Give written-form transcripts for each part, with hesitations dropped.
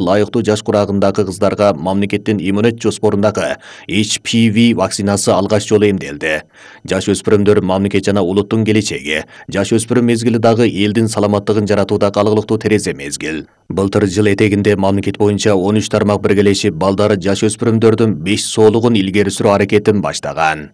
Ылайыктуу жаш курагындагы кыздарга мамлекеттин иммунет жоспорундагы HPV вакцинасы алгач жолу эмделди. Жаш өспүрүмдөр мамлекет жана улуттун келечеги. Жаш өспүрүм мезгили дагы элдин саламаттыгын жаратууга калгылыктуу терезе мезгил. Былтыр жыл этегинде мамлекет боюнча 13 тармак биргелешип балдары жаш өспүрүмдөрдүн 5 соолугун илгери сүрүү аракетин баштаган.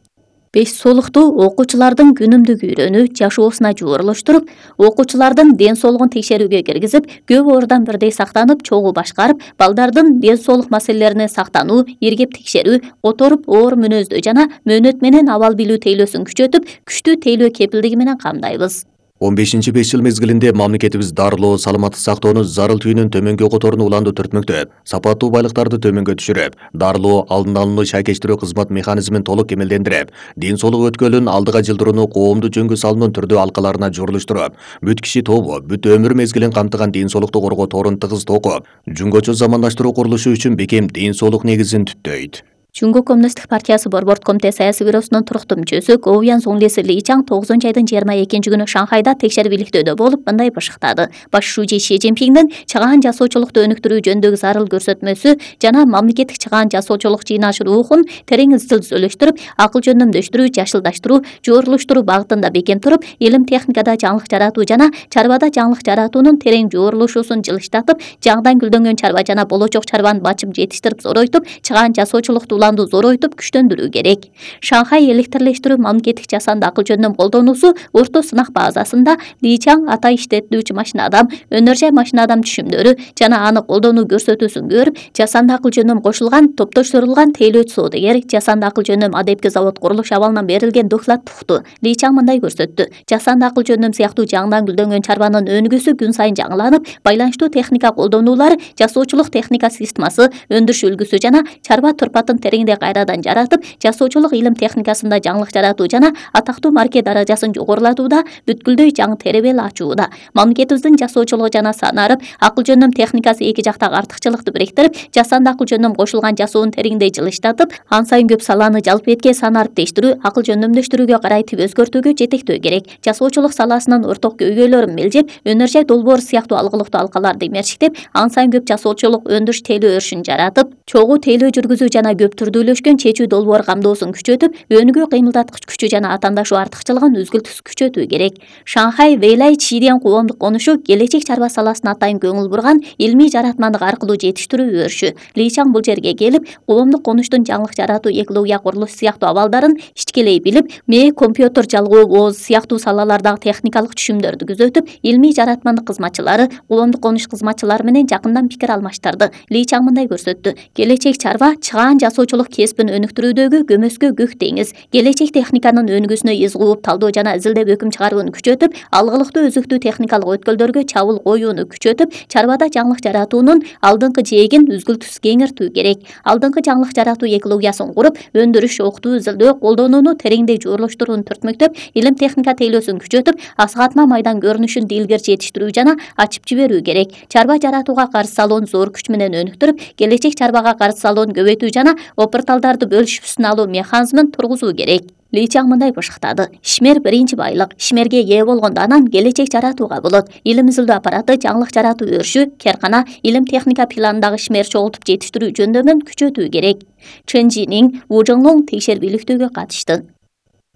5 соолукту окуучулардын күнүмдүк үйрөнүү жашоосуна жуурулуштуруп, окуучулардын ден соолугун текшерүүгө киргизип, көп ордон бирдей сактанып, чогуу башкарып, балдардын ден соолук маселелерине сактануу, иргеп текшерүү, которуп оор мүнөздүү жана мөөнөт менен абал билүү тейлөөсүн күчөтүп, күчтүү тейлөө кепилдиги менен камдайбыз. 15-5 жыл мезгилинде мамлекетибиз дарылоо, саламаттык сактоону зарыл түйүнүн төмөнгө которууну уланды түртмөктөп, сапаттуу байлыктарды төмөнгө түшүрүп, дарылоо, алдын алууну шайкештирүү кызмат механизмин толук кемелдендирип, ден соолук өткөлүн алдыга жылдырууну коомдук жөнгө салуунун түрдүү алкаларына журулуштуруп, бүт киши тобу, бүт өмүр мезгилин камтыган ден соолукту коргоо торун тыгыз токуп, жөнгөчө замандаштыруу курулушу үчүн бекем ден соолук негизин түптөйт. Чуңгу Коммунисттик партиясы борбордук комитет саясий бюросунун туруктуу мүчөсү Гоуян Зонглиси Ли Чаң 9-айдын 22-күнү Шанхайда текшерип иликтөөдө болуп, мындай башыктады. Баш шүүжи Ши Цзиньпиңдин чыгаан жасоочулукту өнүктүрүү жөнүндөгү зарыл көрсөтмөсү жана мамлекеттик чыгаан жасоочулук жыйнаш рухун терең изилдөштүрүп, акыл жөндөмдөштүрүү, жашылдаштыруу, жуурулуштуруу багытында бекем туруп, илим техникада жаңылык жаратуу жана чарбада жаңылык жаратуунун терең жуурулушуусун жылыштатып, жаңыдан гүлдөнгөн чарба жана болочок чарбаны бачып жетиштирип зоройтуп, чыгаан жасоочулукту зоройтуп күчтөндүрүү керек. Шанхай электрлештирүү мамлекеттик жасанды акыл жөндөм колдонуусу орто сынак базасында Ли Чаң ата иштетүүчү машина адам, өнөр жай машина адам түшүмдөрү жана аны колдонуу көрсөтүүсүн көрүп, жасанды акыл жөндөм кошулган, топтоштурулган тейлөөчү соодагер, жасанды акыл жөндөм адепки завод курулуш абалынан берилген доклад укту. Ли Чаң мындай көрсөттү. Жасанды акыл жөндөм сыяктуу жаңыдан гүлдөнгөн чарбанын өнүгүүсү күн сайын жаңыланып, байланыштуу техника колдонуулар, жасоочулук техника системасы, өндүрүш үлгүсү жана чарба турпатын тергенде кайрадан жаратып, жасоочулук илим техникасында жаңылык жаратуу жана атактуу марке даражасын жогорулатууда бүткүлдөй жаңы теребел ачууда. Мамлекетибиздин жасоочулугу жана санарып, акыл жөндөм техникасы эки жактагы артыкчылыкты бириктирип, жасанды акыл жөндөм кошулган жасоонун тереңдей жылыштатып, ан сайын көп саланы жалпы этке санарып тештирүү, акыл жөндөмдөштүрүүгө карай тип өзгөртүүгө жетектөө керек. Жасоочулук саласынын орток көйгөйлөрүн мелжеп, өнөр жай долбоор сыяктуу алгылыктуу алкаларды имерчиктеп, ан сайын көп жасоочулук өндүрүш тейлөө өрүшүн жаратып, чогуу тейлөө жүргүзүү жана көп түрдүүлөшкөн чечүү долбоор камдоосун күчөтүп, өнүгүү кыймылдаткыч күчү жана атаандашуу артыкчылыгын үзгүлтүс күчөтүү керек. Шанхай Вэйлай Чиден коомдук конушу келечек чарба саласына атайын көңүл бурган илмий жаратмандык аркылуу жетиштирүү өрүшү. Ли Чаң бул жерге келип, коомдук конуштун жаңылык жаратуу, экология курулуш сыяктуу абалдарын ичкелей билип, компьютер жалгоо, ооз сыяктуу салалардагы техникалык түшүмдөрдү күзөтүп, илмий жаратмандык кызматчылары, коомдук конуш кызматчылары менен жакындан пикир алмаштырды. Ли Чаң мындай көрсөттү. Келечек чарба чыгаан жасоочулук кесибин өнүктүрүүдөгү көмөскө көк деңиз. Келечек техниканын өнүгүүсүнө из кууп, талдоо жана изилдеп өкүм чыгарууну күчөтүп, алгылыктуу өзүктүү техникалык өткөлдөргө чабуул коюуну күчөтүп, чарбада жаңылык жаратуунун алдыңкы жээгин үзгүлтүс кеңиртүү керек. Алдыңкы жаңылык жаратуу экологиясын куруп, өндүрүш, окутуу, изилдөө, колдонууну тереңдей жуурулуштурууну түртмөктөп, илим техника тейлөөсүн күчөтүп, асыгатма майдан көрүнүшүн дилгер жетиштирүү жана ачып жиберүү керек. Чарба жаратууга каршы салууну зор күч менен өнүктүрүп, келечек чарбага каршы салууну көбөйтүү жана опырталдарды бөлүшүпсүн алуу механизмин тургузуу керек. Ли Чаң мындай башыктады. Ишмер биринчи байлык. Ишмерге ээ болгондо анан келечек жаратууга болот. Илим изилдөө аппараты, жаңылык жаратуу өрүшү, керкана, илим техника планындагы ишмер чогултуп жетиштирүү жөндөмүн күчөтүү керек. Чен Жинин Ву Жоңлоң текшерип иликтөөгө катышты.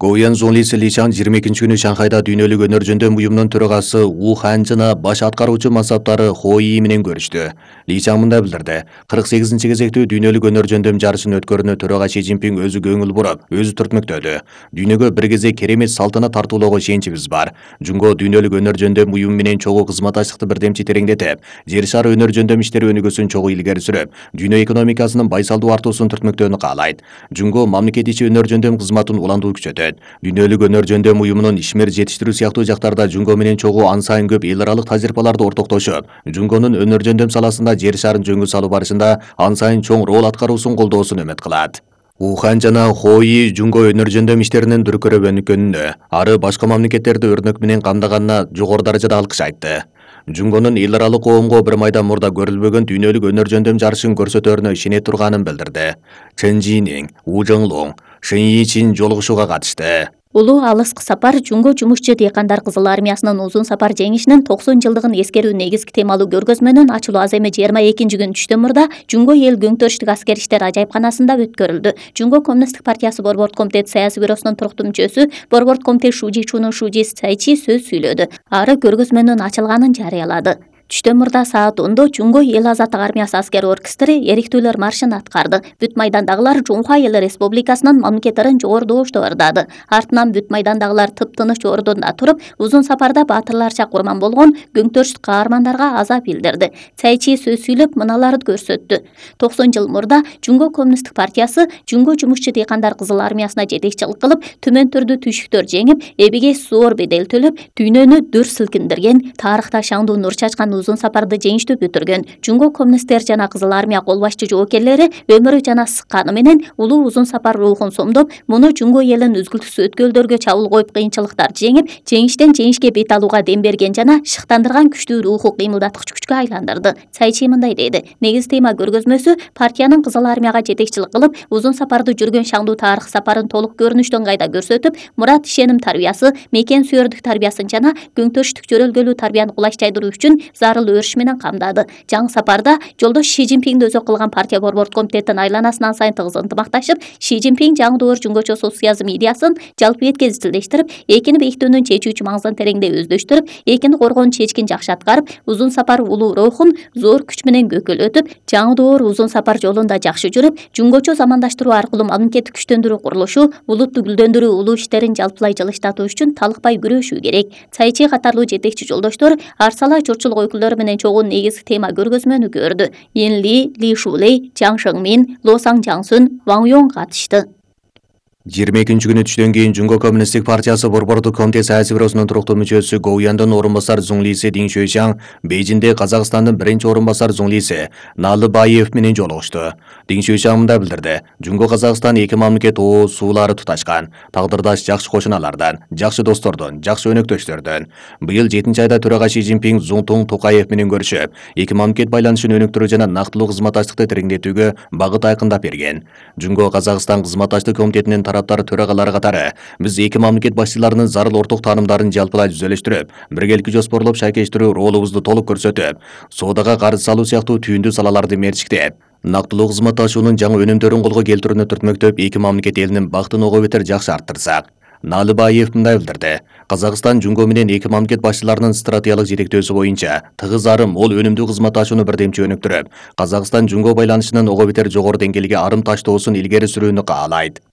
Гоуян Зонглиси Ли Чаң 22-күнү Шанхайда дүйнөлүк өнөр жөндөм уюмунун төрагасы Ву Хан жана баш аткаруучу мансаптары Хо И менен көрүштү. Ли Чаң мындай билдирди. 48-кезектүү дүйнөлүк өнөр жөндөм жарышын өткөрүүнү төрага Ши Цзиньпиң өзү көңүл буруп, өзү түртмөктөдү. Дүйнөгө бир кезде керемет салтанат тартуулоого ишеничибиз бар. Жунго дүйнөлүк өнөр жөндөм уюму менен чогуу кызматташтыкты бирдемчи тереңдетип, жер шары өнөр жөндөм иштери өнүгүүсүн чогуу илгери сүрүп, дүйнө экономикасынын байсалдуу артуусун түртмөктөөнү каалайт. Жунго мамлекет ичи өнөр жөндөм кызматын уландуу күчөтөт. Дүйнөлүк өнөр жөндөм уюмунун ишмер жетиштирүү сыяктуу жактарда Жунго менен чогуу ан сайын көп эл аралык тажрыйбаларды ортоктошуп, Жунгонун өнөр жөндөм саласында жер шарын жөнгө салуу барышында ан сайын чоң роль аткаруусун колдоосун үмүт кылат. Ву Хан жана Хо И Жунго өнөр жөндөм иштеринин дүркүрөп өнүккөнүнө, ары башка мамлекеттерди өрнөк менен камдаганына жогору даражада алкыш айтты. Жунгонун эл аралык коомго бир майда мурда көрүлбөгөн дүйнөлүк өнөр жөндөм жарышын көрсөтөрүнө ишене турганын билдирди. Чен Жинин, Ву Жоңлоң, Шэн Йичин жолугушууга катышты. Улуу алыскы сапар Жунго жумушчу дыйкандар Кызыл армиясынын узун сапар жеңишинин 90 жылдыгын эскерүү негизги темалуу көргөзмөнүн ачылуу аземи 22-күнү түштөн мурда Жунго эл көңтөрүштүк аскер иштер ажайыпканасында өткөрүлдү. Жунго коммунисттик партиясы Борбордук комитет саясий бюросунун туруктуу мүчөсү Борбордук комитет Шужичунун Шужи Сайчи сөз сүйлөдү. Ары көргөзмөнүн ачылганын жарыялады. Түштөн мурда саат 10-до Жунго эл азаттык армиясы аскер оркестри эриктүүлөр маршын аткарды. Бүт майдандагылар Жунхва эл республикасынын мамлекеттерин жогору добуштап ырдады. Артынан бүт майдандагылар тыптыныч ордунда туруп, узун сапарда баатырларча курман болгон көңтөрүштүк каармандарга аза билдирди. Сайчи сөз сүйлөп мыналарды көрсөттү. 90 жыл мурда Жунго коммунисттик партиясы Жунго жумушчу дыйкандар Кызыл армиясына жетекчилик кылып, төмөн түрдүү түйшүктөр жеңип, эбиге зор бедел төлөп, дүйнөнү дүр силкиндирген, тарыхта шаңдуу нур чачкан узун сапарды жеңиштүү бүтүргөн. Жунго коммунисттер жана Кызыл армия кол башчы жоокерлери өмүрү жана сыкканы менен улуу узун сапар рухун сомдоп, муну Жунго элин үзгүлтүксүз өткөлдөргө чабуул коюп кыйынчылыктарды жеңип, жеңиштен жеңишке бет алууга дем берген жана шыктандырган күчтүү руху кыймылдаткыч күчкө айландырды. Сайчи мындай деди: негиз тема көргөзмөсү партиянын Кызыл армияга жетекчилик кылып, узун сапарды жүргөн шаңдуу тарых сапарын толук көрүнүштөн кайда көрсөтүп, мурат ишеним тарбиясы, мекен сүйөрдүк тарбиясын жана көңтөрүштүк жөрөлгөлүү тарбияны кулачтайдыруу үчүн зарыл өрүш менен камдады. Жаңы сапарда жолдош Ши Цзиньпиңди өзөк кылган партия Борбордук комитеттин айланасынан сайын тыгыз ынтымакташып, Ши Цзиньпиң жаңы доор жунгочо социализм идеясын жалпы бетке изилдештирип, экини бейиктөөнүн чечүүчү маңызын тереңдей өздөштүрүп, экини коргоонун чечкин жакшы аткарып, узун сапар улуу рухун зор күч менен көкөлөтүп, жаңы доор узун сапар жолунда жакшы жүрүп, жунгочо замандаштыруу аркылуу мамлекеттик күчтөндүрүү курулушу, улутту гүлдөндүрүү улуу иштерин жалпылай жылыштатуу үчүн талыкпай күрөшүү керек. Сайчи катарлуу жетекчи жолдоштор Арсала чурчулук өкүлдөрү менен чогуу негизги тема көргөзмөнү көрдү. Ин Ли, Ли Шулей, Чаң Шыңмин, Ло Sang Жаңсун, Ваң Йонг катышты. 22-күнү түштөн кийин Жунго коммунисттик партиясы Борбордук комитет саясий бюросунун туруктуу мүчөсү Гоуяндын орун басар Зуң Лиси Дин Шуйчаң Бейжиңде Казакстандын биринчи орун басар Зуң Лиси Налыбаев менен жолугушту. Дин Шуйчаң мындай билдирди: Жунго Казакстан эки мамлекет ооз суулары туташкан, тагдырдаш жакшы кошуналардан, жакшы достордон, жакшы өнөктөштөрдөн. Быйыл 7-айда төрага Ши Цзиньпиң Зуңтуң Токаев менен көрүшүп, эки мамлекет байланышын өнүктүрүү жана нактылуу кызматташтыкты тереңдетүүгө багыт айкындап берген. Жунго Казакстан кызматташтык комитетинин тараптар төрагалары катары биз эки мамлекет башчыларынын зарыл орток таанымдарын жалпылай түзөлүштүрүп, биргеликти жоспорлоп шайкештирүү ролубузду толук көрсөтүп, соодага карыз салуу сыяктуу түйүндүү салаларды мерчиктеп, нактылуу кызматташуунун жаңы өнүмдөрүн колго келтирүүнү түртмөктөп, эки мамлекет элинин бактын ого бетер жакшы арттырсак. Налыбаев мындай билдирди: Казакстан Жунго менен эки мамлекет башчыларынын стратегиялык жетектөөсү боюнча тыгыз ары мол өнүмдүү кызматташууну бирдемчи өнүктүрүп, Казакстан Жунго байланышынын ого бетер жогору деңгээлге арым таштоосун илгери сүрүүнү каалайт.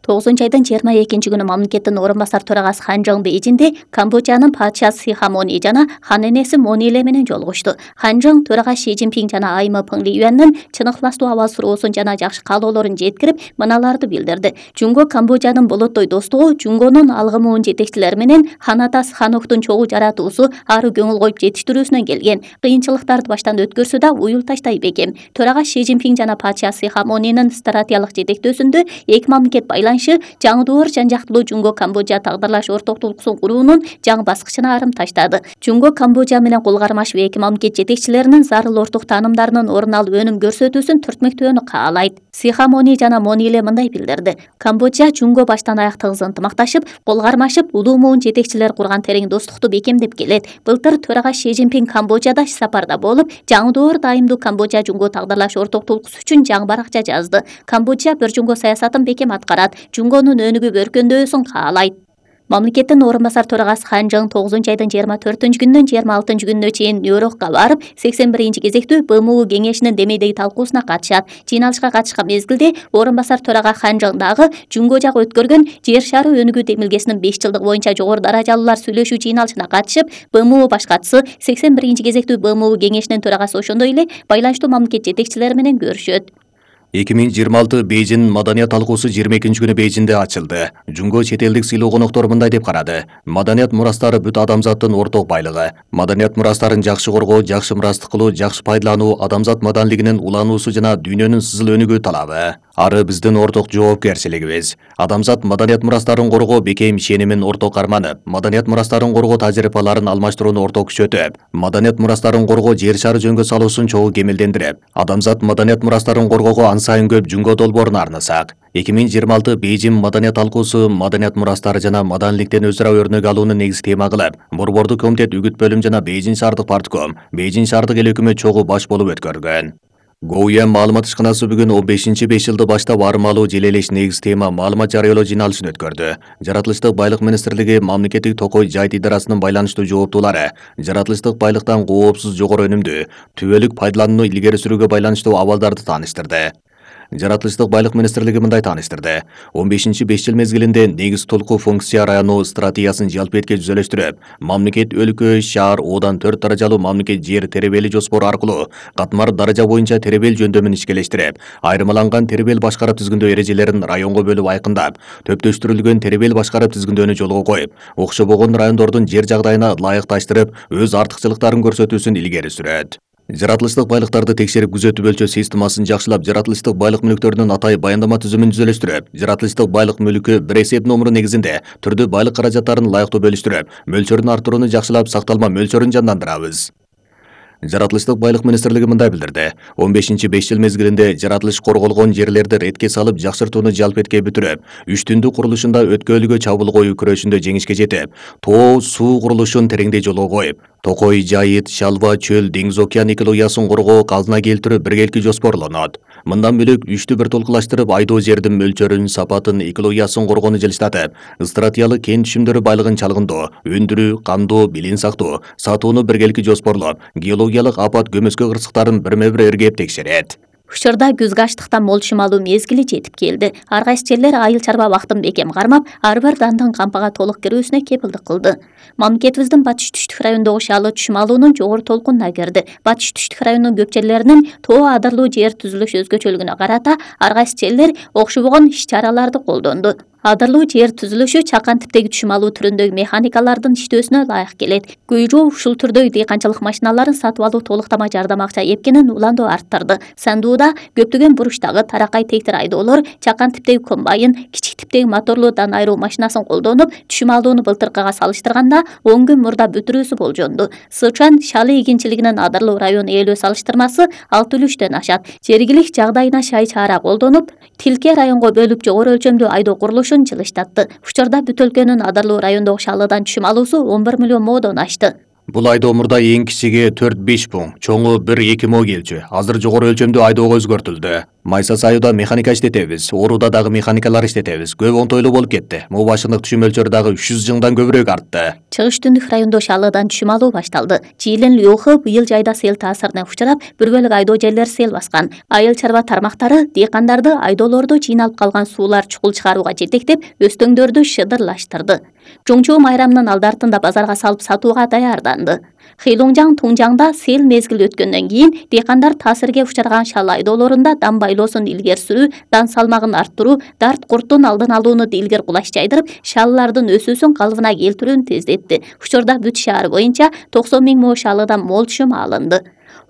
9-айдын 22-күнү мамлекеттин орун басар төрагасы Хан Жоң Бейжиңде Камбоджанын падышасы Сиха Мони жана хан энеси Мони Ле менен жолугушту. Хан Жоң төрага Ши Цзиньпиң жана Айма Пыңли Юаннын чын ыхластуу абал суроосун жана жакшы каалоолорун жеткирип, мыналарды билдирди. Жунго Камбоджанын болоттой достугу, Жунгонун алгымуун жетекчилери менен хан атасы Ханоктун чогуу жаратуусу ары көңүл коюп жетиштирүүсүнөн келген. Кыйынчылыктарды баштан өткөрсө да уюл таштай бекем. Төрага Ши Цзиньпиң жана падышасы Сиха Монинин стратегиялык жетектөөсүндө эки мамлекет жаңы доор жан-жактылуу Жунго Камбоджа тагдырлаш ортоктулуксун куруунун жаңы баскычына арым таштады. Жунго Камбоджа менен кол кармашып эки мамлекет жетекчилеринин зарыл орток таанымдарынын орун алып өнүм көрсөтүүсүн түртмөктөөнү каалайт. Сиха Мони жана Мони Ле мындай билдирди: Камбоджа Жунго баштан аяк тыгыз ынтымакташып, кол кармашып, улуу муун жетекчилер курган терең достукту бекемдеп келет. Былтыр төрага Ши Цзиньпиң Камбоджада иш сапарда болуп, жаңы доор дайымдуу Камбоджа Жунго тагдырлаш ортоктулуксу үчүн жаңы баракча жазды. Камбоджа бир Жунго саясатын бекем аткарат, Жунгонун өнүгүп өркөндөөсүн каалайт. Мамлекеттин орун басар төрагасы Хан Жоң 9-айдын 24-күнүнөн 26-күнүнө чейин Нью-Йоркко барып, 81-кезектүү БМУ кеңешинин демейдеги талкуусуна катышат. Жыйналышка катышкан мезгилде орун басар төрага Хан Жоң дагы Жунго жагы өткөргөн жер шары өнүгүү демилгесинин 5 жылдык боюнча жогору даражалуулар сүйлөшүү жыйналышына катышып, БМУ башкачысы 81-кезектүү БМУ кеңешинин төрагасы ошондой эле байланыштуу мамлекет жетекчилери менен көрүшөт. 2026 Бейжиң маданият талкуусу 22-күнү Бейжиңде ачылды. Жунго чет элдик сыйлуу коноктор мындай деп карады: Маданият мурастары бүт адамзаттын орток байлыгы. Маданият мурастарын жакшы коргоо, жакшы мурастык кылуу, жакшы пайдалануу адамзат маданилигинин улануусу жана дүйнөнүн сызыл өнүгүү талабы. Ары биздин орток жоопкерчилигибиз. Адамзат маданият мурастарын коргоо бекем ишенимин орток карманып, маданият мурастарын коргоо тажрыйбаларын алмаштырууну орток күчөтүп, маданият мурастарын коргоо жер шары жөнгө салуусун чогуу кемелдендирип, адамзат маданият мурастарын коргоого сайын көп Жунго долбоорун арнасак, 2026 Бейжин маданият талкуусу маданият мурастары жана маданиликтен өз ара өрнөк алууну негизи тема кылып, Борбордук комитет үгүт бөлүм жана Бейжин шаардык партком, Бейжин шаардык эл өкмөт чогуу баш болуп өткөргөн. Гоуян маалымат ишканасы бүгүн 15-5 жылды баштап армалуу желелеш негиз тема маалымат жарыялоо жыйналышын өткөрдү. Жаратылыштык байлык министрлиги мамлекеттик токой жайыт идарасынын байланыштуу жооптуулары жаратылыштык байлыктан коопсуз жогору өнүмдүү түбөлүк пайдаланууну илгери сүрүүгө байланыштуу абалдарды тааныштырды. Жаратылыштык байлык министрлиги мындай тааныштырды. 15-5 жыл мезгилинде негиз толку функция району стратегиясын жалпыетке жүзөлөштүрүп, мамлекет өлкө, шаар, одан 4 даражалуу мамлекет жер теребели жоспору аркылуу катмар даража боюнча теребел жөндөмүн ишкелештирип, айырмаланган теребел башкарып түзгүндөө эрежелерин районго бөлүп айкындап, төптөштүрүлгөн теребел башкарып түзгүндөнү жолго коюп, окшобогон райондордун жер жагдайына ылайыкташтырып, өз артыкчылыктарын көрсөтүүсүн илгери сүрөт. Жаратылыштык байлыктарды текшерип күзөтүп өлчөө системасын жакшылап, жаратылыштык байлык мүлктөрүнүн атай баяндама түзүмүн түзөлөштүрүп, жаратылыштык байлык мүлкү бир эсеп номуру негизинде түрдүү байлык каражаттарын ылайыктуу бөлүштүрүп, мөлчөрүн арттырууну жакшылап, сакталма мөлчөрүн жандандырабыз. Жаратылыштык байлык министрлиги мындай билдирди. 15-5 жыл мезгилинде жаратылыш корголгон жерлерди ретке салып, жакшыртууну жалпетке бүтүрүп, үч түндүк курулушунда өткөөлүгө чабуул коюу күрөшүндө жеңишке жетип, тоо суу курулушун тереңдей жолго коюп, токой жайыт, шалва, чөл, деңиз океан экологиясын коргоо, казына келтирүү биргелки жоспорлонот. Мындан бөлөк үчтү бир толкулаштырып, айдоо жердин мөлчөрүн, сапатын, экологиясын коргоону жылыштатып, стратегиялык кен түшүмдөрү байлыгын чалгындоо, өндүрүү, камдоо, билин сактоо, сатууну биргелки жоспорлоп, геологиялык апат көмөскө кырсыктарын бирме-бир эргеп текшерет. Учурда күзгү аштыктан молчум алуу мезгили жетип келди. Ар кайсы жерлер айыл чарба убактын бекем кармап, ар бир дандын кампага толук кирүүсүнө кепилдик кылды. Мамлекетибиздин батыш түштүк райондогу шаалы түшүм алуунун жогору толкунуна кирди. Батыш түштүк районунун көп жерлеринин тоо адырлуу жер түзүлүш өзгөчөлүгүнө карата ар кайсы жерлер окшобогон иш-чараларды колдонду. Адырлуу жер түзүлүшү чакан типтеги түшүм алуу түрүндөгү механикалардын иштөөсүнө ылайык келет. Күйрүү ушул түрдөгү дыйканчылык машиналарын сатып алуу толуктама жардам акча эпкенин уландоо арттырды. Сандууда көптөгөн буручтагы таракай тектир айдоолор чакан типтеги комбайн, кичик типтеги моторлуу дан айыруу машинасын колдонуп, түшүм алууну былтыркыга салыштырганда 10 күн мурда бүтүрүүсү болжонду. Сычуан шалы эгинчилигинин адырлуу район ээлөө салыштырмасы 6,3-төн ашат. Жергилик жагдайына шай чара колдонуп, тилке районго бөлүп жогору өлчөмдүү айдоо курулушун жылыштатты. Учурда бүт өлкөнүн адырлуу райондогу шалыдан түшүм алуусу 11 миллион моодон ашты. Бул айдоо мурда эң кичиги 4-5 пуң, чоңу 1-2 мо келчү. Азыр жогору өлчөмдүү айдоого өзгөртүлдү. Майса сайууда механика иштетебиз, ооруда дагы механикалар иштетебиз. Көп оңтойлуу болуп кетти. Могу башындык түшүм мөлчөрү дагы 300 жылдан көбүрөөк артты. Чыгыш түндүк райондо шалыдан түшүм алуу башталды. Жиилен Лёхы быйыл жайда сел таасирине учурап, бир бөлүк айдоо жерлер сел баскан. Айыл чарба тармактары дыйкандарды айдоолордо жыйналып калган суулар чукул чыгарууга жетектеп, өстөңдөрдү шыдырлаштырды. Жоңчоо майрамынын алды артында базарга салып сатууга даярданды. Хилуңжаң Туңжаңда сел мезгили өткөндөн кийин дыйкандар таасирге учураган шал айдоолорунда дан байлоосун илгери сүрүү, дан салмагын арттыруу, дарт курттун алдын алууну илгер кулаш жайдырып, шалылардын өсүүсүн калыбына келтирүүнү тездетти. Учурда бүт шаар боюнча 90 000 мо шалыдан мол түшүм алынды.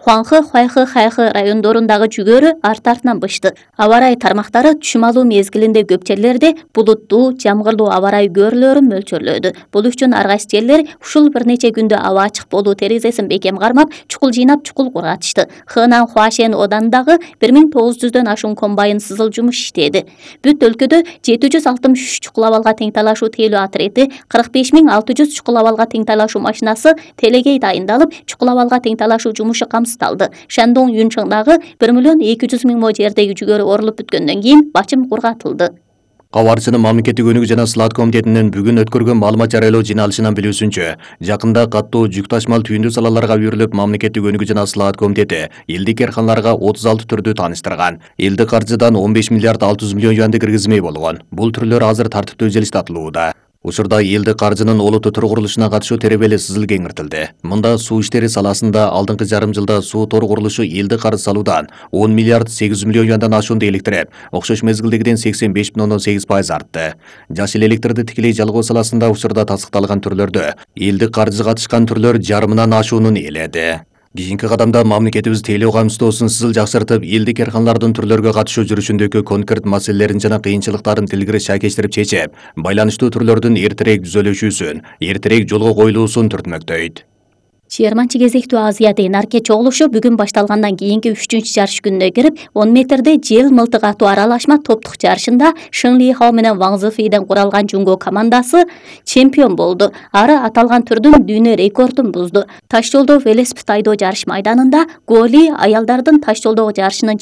Хуанхы, Хуайхы, Хайхы райондорундагы жүгөрү арт-артынан бышты. Аба ырайы тармактары түшүм алуу мезгилинде көп жерлерде булуттуу, жамгырлуу аба ырайы көрүлөрүн мөлчөрлөдү. Бул үчүн ар кайсы жерлер ушул бир нече күндө аба ачык болуу терезесин бекем кармап, чукул жыйнап чукул кургатышты. Хынан Хуашен оданындагы 1900дөн ашуун комбайн сызыл жумуш иштеди. Бүт өлкөдө 763 чукул абалга тең талашуу тейлөө отрети, 45 600 чукул абалга тең талашуу машинасы телегей дайындалып, чукул абалга тең талашуу жумушу камсыздалды. Шандон Юнчоңдагы 1 200 000 мо жердеги жүгөрү орулуп бүткөндөн кийин бачым кургатылды. Кабарчынын мамлекеттик өнүгүү жана сылаат комитетинин бүгүн өткөргөн маалымат жарыялоо жыйналышынан билүүсүнчө, жакында каттуу жүк ташмал түйүндүү салаларга үйрүлүп, мамлекеттик өнүгүү жана сылаат комитети элдик эрканларга 36 түрдү тааныштырган. Элдик каржыдан 15 миллиард 600 миллион юанды киргизмей болгон. Бул түрлөр азыр тартиптүү жылыштатылууда. Учурда элдик каржынын олуттуу төр курулушуна катышуу теребели сызыл кеңиртилди. Мында суу иштери саласында алдыңкы жарым жылда суу тор курулушу элдик карыз салуудан 10 миллиард 800 миллион юандан ашуунду электирип, окшош мезгилдегиден 85,8% артты. Жашыл электрди тикелей жалгоо саласында учурда тастыкталган түрлөрдө элдик каржы катышкан түрлөр жарымынан ашуунун ээледи. Кийинки кадамда мамлекетибиз тейлөө камсыздоосун сызыл жакшыртып, элдик эрканлардын түрлөргө катышуу жүрүшүндөгү конкрет маселелерин жана кыйынчылыктарын тилгири шайкештирип чечип, байланыштуу түрлөрдүн эртерээк түзөлүшүүсүн, эртерээк жолго коюлуусун түртмөктөйт. 20 кезектүү Азиядын арке чогулушу бүгүн башталгандан кийинки 3-чү жарыш күнүнө кирип, 10 метрде жел мылтык атуу аралашма топтук жарышында Шың Ли Хао менен Ваң Зифейден куралган Жунго командасы чемпион болду. Ары аталган түрдүн дүйнө рекордун бузду. Таш жолдо велосипед айдоо жарыш майданында Гуо Ли аялдардын таш жолдогу жарышынын